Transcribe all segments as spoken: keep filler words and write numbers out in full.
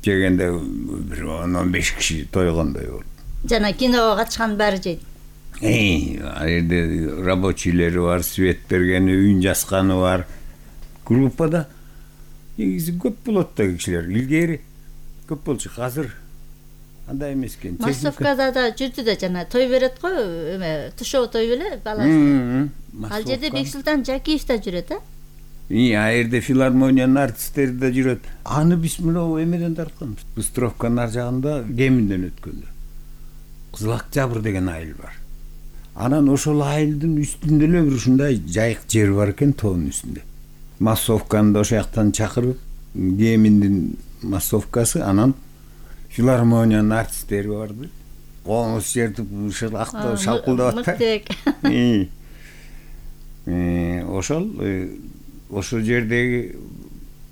жегенде бир он он беш киши тойгондой болуп. Жана киного катышкан баары жейт. Эй, ал жерде рабочийлери бар, свет бергени, үйүн жасканы бар. Группада негизи көп болот да кишилер. Илгери көп болчу, азыр андай эмес экен. Массовкада да жүрдү да жана той берет го, эме тушоо той беле баласы. Ал жерде Бексултан Жакиев да жүрөт, а? И ал жерде филармониянын артисттери да жүрөт. Аны биз мына эмеден тартканбыз. Быстровканын ар жагында Кеминден өткөндө. Кызыл Октябрь деген айыл бар. Анан ошол айылдын үстүндө эле бир ушундай жайык жер бар экен, тоонун үстүндө. Массовканы да ошол жактан чакырып, Кеминдин массовкасы, анан филармониянын артисттери барды. Коңуз жерди ушул акта шалкылдап атты. Ошол ошол жердеги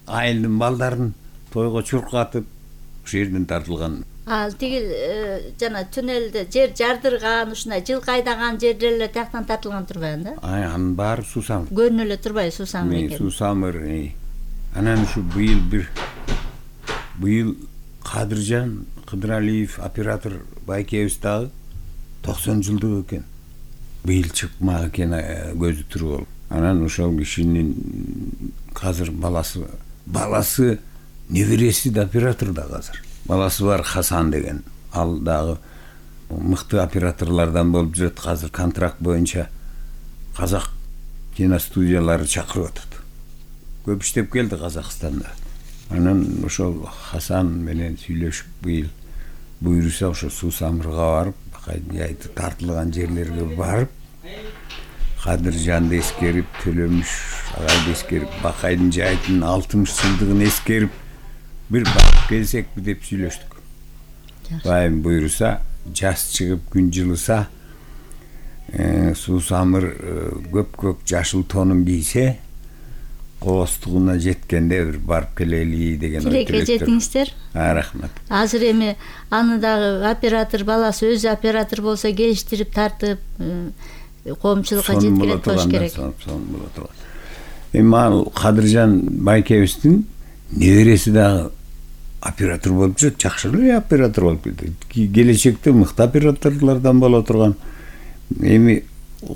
айылдын балдарын тойго чуркатып, ошол жерден тартылган. Ал тигил жана туннелде жер жардырган, ушундай жылкы айдаган жерлер эле тияктан тартылган турбайбы да? Ай, анын баары суусамыр. Көрүнө эле турбайбы суусамыр экен? Суусамыр. Анан ушу быйыл бир быйыл Кадыржан Кыдыралиев оператор байкебиз дагы токсон жылдык экен. Быйыл чыкмак экен көзү тирүү болуп. Анан ошол кишинин азыр баласы баласы небереси да оператор да азыр. Баласы бар Хасан деген. Ал дагы мыкты операторлордон болуп жүрөт. Азыр контракт боюнча казак киностудиялары чакырып атат. Көп иштеп келди Казакстанда. Анан ошол Хасан менен сүйлөшүп быйыл буйруса ошо Суусамырга барып, Бакайдын жайыты тартылган жерлерге барып, Кадыржанды эскерип, Төлөмүш агайды эскерип, Бакайдын жайытынын алтымыш жылдыгын эскерип бир барып келсекпи деп сүйлөштүк. Байым буйруса, жаз чыгып күн жылыса, Суусамыр көк-көк жашыл тонун кийсе, кооздугуна жеткенде бир барып келели деген ой тилекке жетиңиздер. А, рахмат. Азыр эми аны дагы оператор баласы өзү оператор болсо келиштирип тартып, коомчулукка жеткирет болуш керек. Эми ал Кадыржан байкебиздин небереси дагы оператор болуп жүрөт, жакшы эле оператор болуп кетти. Келечекте мыкты операторлордон боло турган. Эми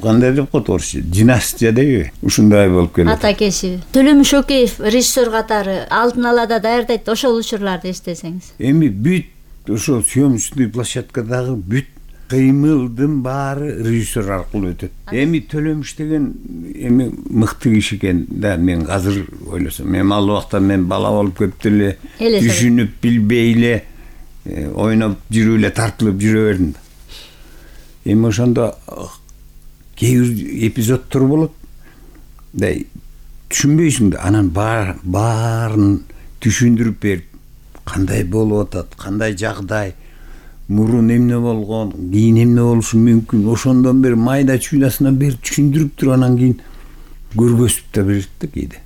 кандай деп коет орусча, династия дейби? Ушундай болуп келет. Ата кесиби. Төлөмүш Океев режиссер катары алдын ала да даярдайт, ошол учурларды эстесеңиз. Эми бүт ошол съемочный площадкадагы бүт кыймылдын баары режиссер аркылуу өтөт. Эми Төлөмүш деген эми мыкты киши экен да, мен азыр ойлосом. Эми ал убакта мен бала болуп көп деле түшүнүп билбей эле ойноп жүрүп эле тартылып жүрө бердим. Эми ошондо кээ бир эпизоддор болот. Да түшүнбөйсүң да, анан баарын түшүндүрүп берип, кандай болуп атат, кандай жагдай, мурун эмне болгон, кийин эмне болушу мүмкүн, ошондон бери майда чуйнасынан бери түшүндүрүп туруп, анан кийин көргөзүп да берет да кээде.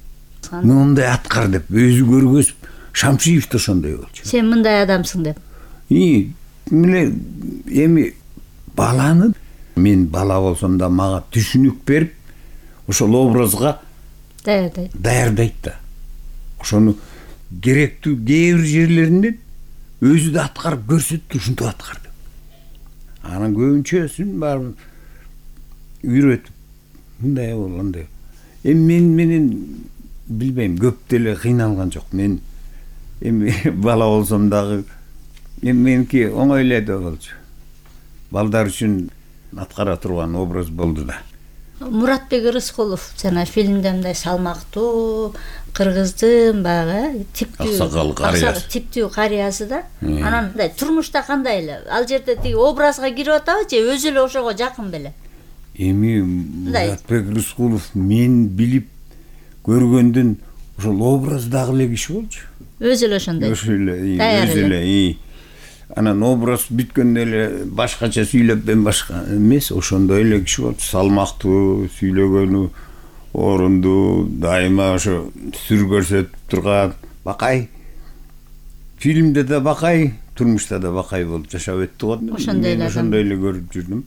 Мындай аткар деп өзү көргөзүп, Шамшиев да ошондой болчу. Сен мындай адамсың деп. И миле эми баланы мен бала болсом да мага түшүнүк берип, ошол образга даярдайт. Даярдайт да. Ошону керектүү кээ бир жерлеринден өзү да аткарып көрсөттү, ушинтип аткарды. Анан көбүнчөсүн барып үйрөтүп, мындай болгондой. Эми мен менен билбейм, көп деле кыйналган жок. Мен эми бала болсом дагы эми меники оңой эле да болчу. Балдар үчүн аткара турган образ болду да. Муратбек Рыскулов жана фильмде мындай салмактуу, кыргыздын баягы типтүү аксакал карыясы, типтүү карыясы да. Анан мындай турмушта кандай эле? Ал жерде тиги образга кирип атабы же өзү эле ошого жакын беле? Эми Муратбек Рыскулов мен билип көргөндөн ошол образдагы эле киши болчу. Өзү эле ошондой. Өзү эле, өзү эле. Анан образ бүткөндө эле башкача сүйлөп, мен башка эмес, ошондой эле киши болчу. Салмактуу, сүйлөгөнү орундуу, дайыма ошо сүр көрсөтүп турган. Бакай. Фильмде да бакай, турмушта да бакай болуп жашап өттү го. Ошондой эле. Ошондой эле көрүп жүрдүм.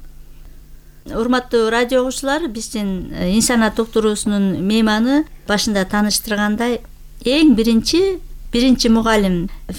Урматтуу радио угуучулар, биздин Инсаният уктуруусунун мейманы башында тааныштыргандай эң биринчи биринчи мугалим